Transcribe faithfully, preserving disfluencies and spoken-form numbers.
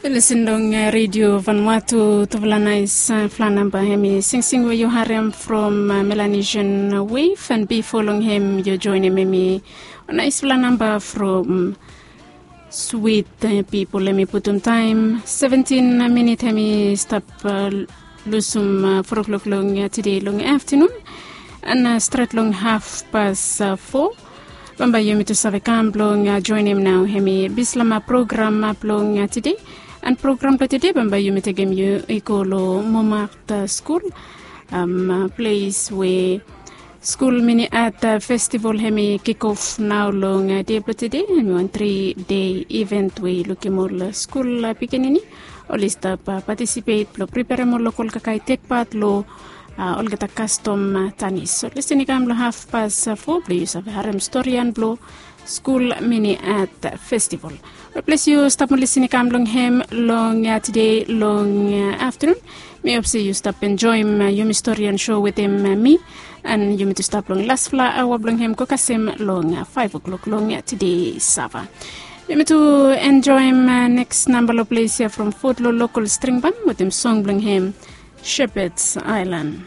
Listen long redio Vanuatu, tufala nais fala namba hem i singsing we yu harem from Melanesian Wave, and bifo long hem yu joinim hem i nais fala namba from Swit Pipol. Hem i putum taem seventin minit hem i stap lusum fo klok long tede long aftanun, and stret long hafpas fo bambae yumi tu save kam blong joinim nao hem i bislama program blong tede. And program blong tede bambae yumi tekem yu i go long momat skul, ples we skul mini at festival hem i kikof nao long de blong tede. Hem i wan tri dei iven we i lukim ol skul pikinini oli stap patisipet blong priperem ol lokol kakae tekpat long olgeta kastom tanis. So listen i kam long hafpas fo blong yu save harem storian blong skul mini at festival. Ol ples yu stap mo listen i kam long hem long tede long aftanun. Mi hop se yu stap enjoim yumi storian so wetem mi, and yumi tu stap long lasfala aoa blong hem go kasem long faef oklok long tede sava. Yumi tu enjoim neks namba long ples ya from fot long lokol stringban wetem song blong hem, Shepherd's Island.